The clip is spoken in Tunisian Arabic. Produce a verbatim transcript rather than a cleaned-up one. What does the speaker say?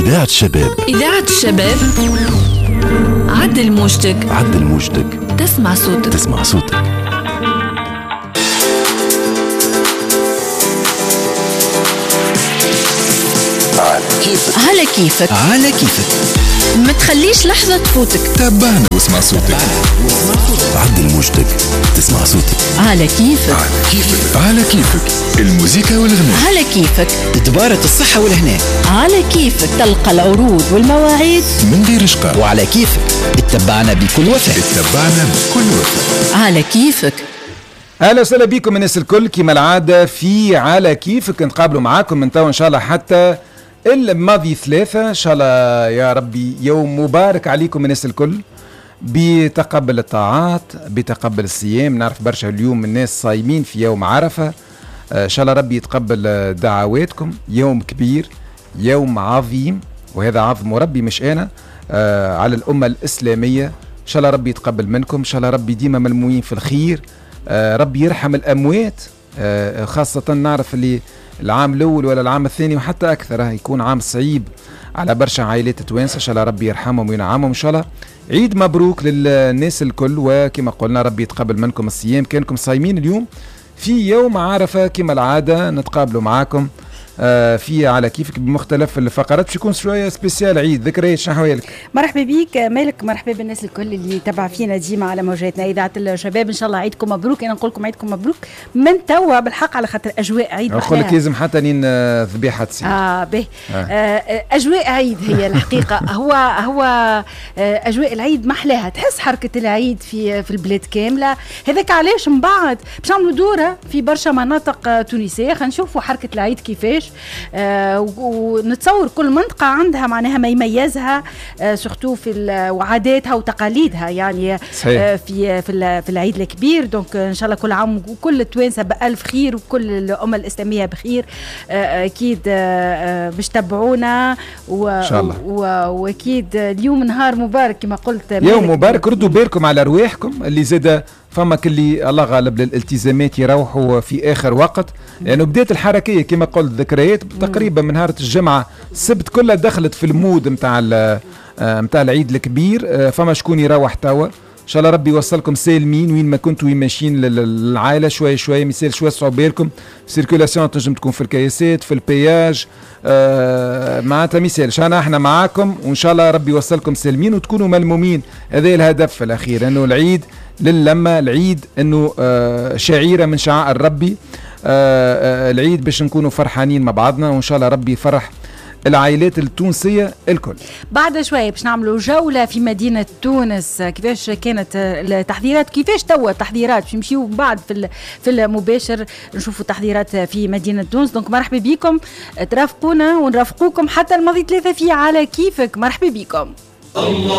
إذاعة الشباب. إذاعة الشباب، عدل موجتك، عدل موجتك، تسمع صوتك، تسمع صوتك. على كيفك، على كيفك، على كيفك، ما تخليش لحظة تفوتك. تابعنا واسمع صوتك. عدل موجتك تسمع صوتك. على كيفك، على كيفك، على كيفك، الموسيقى والغناء. على كيفك، تبارة الصحة والهناء. على كيفك، تلقى العروض والمواعيد من غير شقاء. وعلى كيفك اتبعنا بكل وفاء، اتبعنا بكل وفاء. على كيفك. اهلا وسهلا بكم الناس الكل، كما العادة في على كيفك نتقابلوا معاكم من تو ان شاء الله حتى الماضي ثلاثة. ان شاء الله يا ربي يوم مبارك عليكم الناس الكل، بتقبل الطاعات، بتقبل الصيام. نعرف برشا اليوم الناس صايمين في يوم عرفة، ان شاء الله ربي يتقبل دعواتكم. يوم كبير، يوم عظيم، وهذا عظم ربي مش انا، آه على الأمة الإسلامية. ان شاء الله ربي يتقبل منكم، ان شاء الله ربي ديما ملمومين في الخير. آه ربي يرحم الأموات، آه خاصة نعرف اللي العام الأول ولا العام الثاني وحتى أكثر يكون عام صعيب على برشا عائلات توانسة. إن شاء الله ربي يرحمهم وينعمهم. إن شاء الله عيد مبروك للناس الكل، وكما قلنا ربي يتقبل منكم الصيام. كانكم صايمين اليوم في يوم عرفة كما العادة نتقابلوا معاكم في على كيفك بمختلف الفقرات، باش يكون شوية spécial عيد. ذكريات، شنو حوالك؟ مرحبا بيك مالك، مرحبا بالناس الكل اللي تبع فينا ديما على موجاتنا اذاعة الشباب. ان شاء الله عيدكم مبروك. انا نقول لكم عيدكم مبروك من توا بالحق، على خاطر اجواء عيد. نقول لك لازم حتى نين ذبيحة تصير. اه به آه. آه اجواء عيد هي الحقيقة. هو هو آه اجواء العيد محلاها، تحس حركة العيد في في البلاد كاملة. هذاك علاش من بعد باش نعملوا دوره في برشا مناطق تونسية، خلينا نشوفوا حركة العيد كيفاش. آه ونتصور كل منطقة عندها معناها ما يميزها، آه surtout في وعاداتها وتقاليدها يعني. صحيح. آه في في في العيد الكبير. donc ان شاء الله كل عام وكل التوانسة بألف خير وكل الأمة الإسلامية بخير. آه أكيد آه باش تبعونا و إن شاء الله. واكيد اليوم نهار مبارك كما قلت، يوم مبارك. ردوا بالكم على أرواحكم اللي زاد فما كلي الله غالب للالتزامات يروحوا في اخر وقت، لانه يعني بدات الحركية كما قلت ذكريات تقريبا من نهار الجمعة السبت كلها دخلت في ال mode نتاع نتاع العيد الكبير. فما شكون يروح توا، ان شاء الله ربي يوصلكم سالمين وين ما كنتوا، وين ماشيين للعائلة شوية شوية، مثال شوية صعب بالكم circulation تنجم تكون في الكياسات في ال péage، آه معناتها مثال انا احنا معاكم، وان شاء الله ربي يوصلكم سالمين وتكونوا ملمومين. هذا الهدف الاخير، انه العيد للمه، العيد انه آه شعيرة من شعائر ربي، آه آه العيد باش نكونوا فرحانين مع بعضنا، وان شاء الله ربي يفرح العائلات التونسية الكل. بعد شوية باش نعملوا جولة في مدينة تونس، كيفاش كانت التحضيرات، كيفاش توا التحضيرات، باش نمشيو بعد في في المباشر نشوفوا التحضيرات في مدينة تونس. donc مرحبا بكم، ترافقونا ونرافقوكم حتى الماضي ثلاثة في على كيفك. مرحبا بكم.